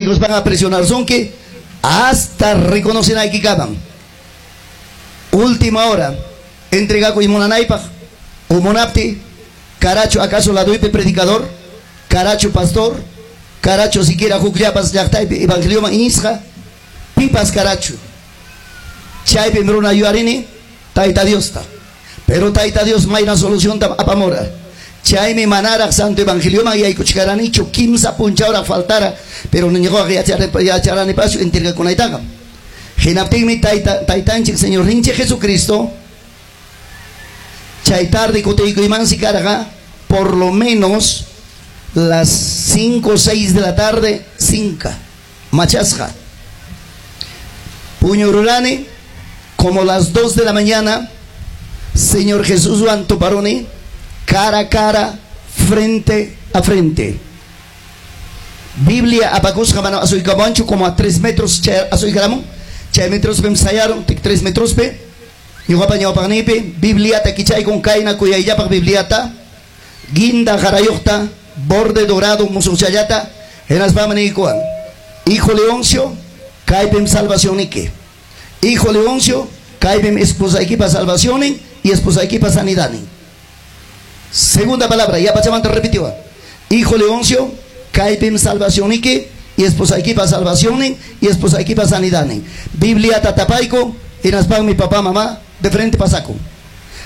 Hapiykuspaqa presionarsunki hasta reconocenaykikaman. Última hora entregakuy munanaypaq o munapti, karachu acaso laduypi predicador, karachu pastor, karachu siquiera hukllapas llaqtaypi evangelioman iñisqa, pipas karachu. Chaypim runa yuyarini Tayta Diosta. Pero Tayta Dios mayna solucionta apamura. Chaymi manaraq Santo Evangelioman yaykuchkaranichu, kimsa punchawraq faltara, pero ñuqaqa yacharanipachu entregakunaytaqa. Hinaptinmi tayta taytanchik Señorninchik Jesucristo chay tarde kutiykuymansi karqa por lo menos las 5 o 6 de la tarde, sinka machasqa. Puñururani como las 2 de la mañana, Señor Jesuswan tuparuni cara a cara, frente a frente. Biblia apakusqa mana asuykamuwanchu, como a 3 metros chay asuykaramun, chay metrospim sayarun, 3 metrospi ñuqapa ñawpaqniypi Bibliata kichaykun, kayna kuyayllapaq Bibliata, guinda qarayuqta, borde dorado, musuqchallata, hinaspami niykuwan: "Hijo Leoncio, kaypim salvacionniki. Hijo Leoncio, kaypim esposaykipa salvacionnin y esposaykipa sanidadnin." Segunda palabra, yapachamanta repitiwan: "Hijo Leoncio, kaypim salvacionniki y esposaykipa salvacionnin y esposaykipa sanidadnin." Bibliata tapayku, hinaspami papá, mamá de frente pasakun.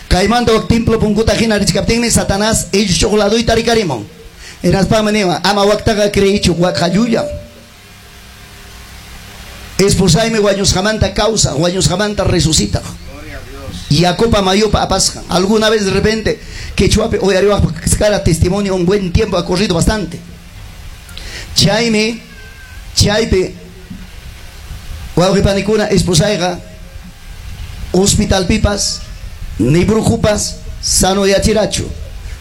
Kaymanta wak templo punkuta hina richkaptinmi Satanás ichuq laduyta rikarimun. Hinaspami niwan: "Ama waktaqa creyichu, wakqa llullam. Esposaymi wañusqamanta kawsaq, wañusqamanta resucitaq. Yakupa mayupa apasqan." Alguna vez de repente quechuapi uyariwaq cara testimonio, un buen tiempo ha corrido bastante. Chaymi chaypi, wawqi panikuna, esposayqa hospitalpipas ni brujupas sanoyachirachu.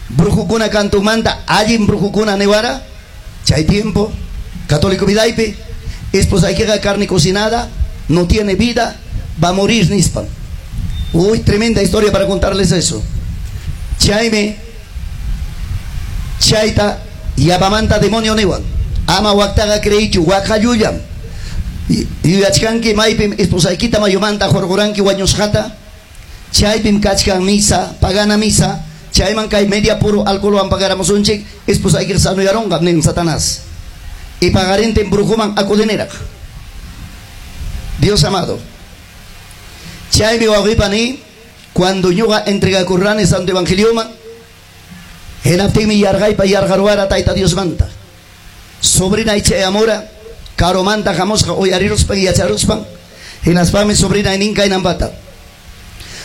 Brujukuna kantumanta allin brujukuna niwara chay tiempo católico vidaypi: "Esposaykiqa carne cocinada, no tiene vida, va a morir", nispan. Uy, tremenda historia para contarles eso. Chaymi chayta yapamanta demonio niwan: "Ama waktaqa creyichu, wakqa llullam. Yuyachkanki maypim esposaykita mayumanta hurquranki wañusqata, chaypim kachkan misa, pagana misa, chayman kay media puro alcoholwan pagaramusunchik, esposaykiqa sanoyarunqa", nin Satanás. Y pagarintin brujuman acudiniraq. Dios amado. Chaymi, wawqipani, cuando ñuqa entregakurrani Santo Evangelioman, hinaptinmi yarqaypa yarqaruwara Tayta Diosmanta. Sobrinay chayamura, karumanta hamusqa, uyariruspan, yacharuspan, hinaspami sobrinay nin kaynampata: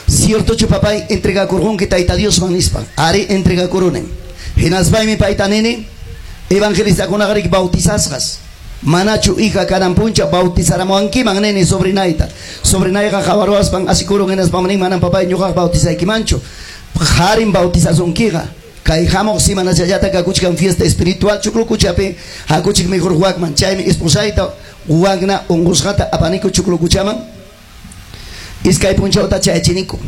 "¿Ciertochu, papay, entregakurqunki Tayta Diosman?" nispa. "Ari, entregakurunim." Hinaspaymi payta nini: "Evangelistakunaqa bautizasqas, manachu, hija, kanan puncha bautizaramuwankiman?" nini sobrinayta. Sobrinayqa qawaruwaspan asikurun, hinaspam nin: "Manam, papay, ñuqaqa bautizaykimanchu, qarim bautizasunkiqa. Kay hamuq semanachallata kakuchkan fiesta espiritual Chuklukuchapi, hakuchik mejor wakman." Chaymi esposayta wakna unqusqata apaniku Chuklukuchaman, iskay punchawta chayachiniku.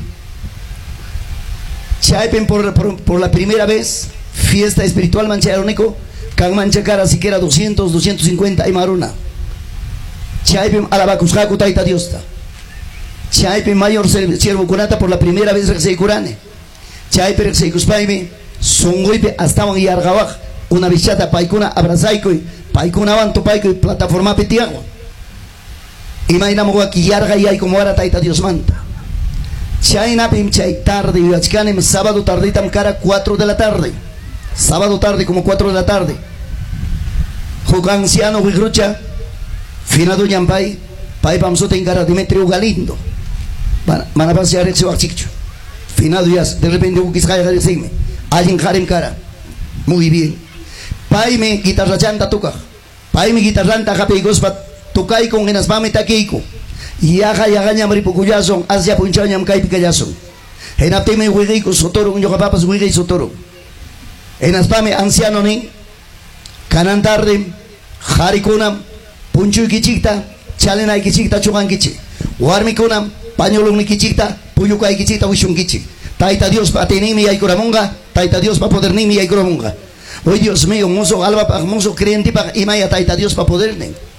Chaypim por la primera vez fiesta espiritual chayaruniku, kanman chakara siquiera 200, 250 imaruna. Chaypim alabakusqaku Tayta Diosta. Chaypim mayor siervokunata por la primera vez riqsiykurani. Chaypi riqsiykuspaymi sunquypi astawan yarqawaq una vez paykuna abrazaykuy, paykunawan tupaykuy plataformapi tiyaqwan. Imaynam waki yarqay yaykumwara Tayta Diosmanta. Chaynapim chay tarde yuyachkanim, sábado tarditam kara, 4 de la tarde. Sábado tarde, como 4 de la tarde. Huk anciano wiqrucha, finaduñam pay, paypam sutin kara Demetrio Galindo. Manapas riqsiwaqchikchu. Finado ya, de repente huk isqayqa riqsinmi. Allin qarim kara. Muy bien. Paymi guitarrachanta tukaq. Paymi guitarranta hapiykuspa tukaykun, hinaspami takiyku. Yaqa yaqañam ripukullasun, asya punchawñam kaypi kallasun. Hinaptinmi wiqiyku suturun, ñuqapapas wiqiy suturun. Hinaspami anciano nin: "Kanan tarde qarikunam punchuykichikta, chalinaykichikta chuqankichik. Warmikunam pañolunnikichikta, pullukaykichikta wishunkichik. Tayta Diospa atiyninmi yaykuramunqa, Tayta Diospa poderninmi yaykuramunqa." Uy, Dios mío, musuq almapaq, musuq creyentipaq imaya Tayta Diospa podernin.